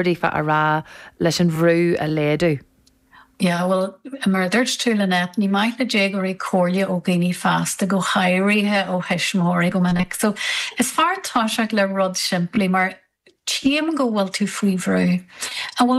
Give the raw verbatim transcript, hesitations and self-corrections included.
daofa a rá leis an bhrú a laghdú. Yeah, well mar dúirt tú Lynette, ní maith le déagóirí comhairle ó dhaoine fásta go háirithe ó thuismitheoirí go minic. So is fearr toiseacht le rud simplí mar tchím go bhfuil tú faoi bhrú. An bhfuil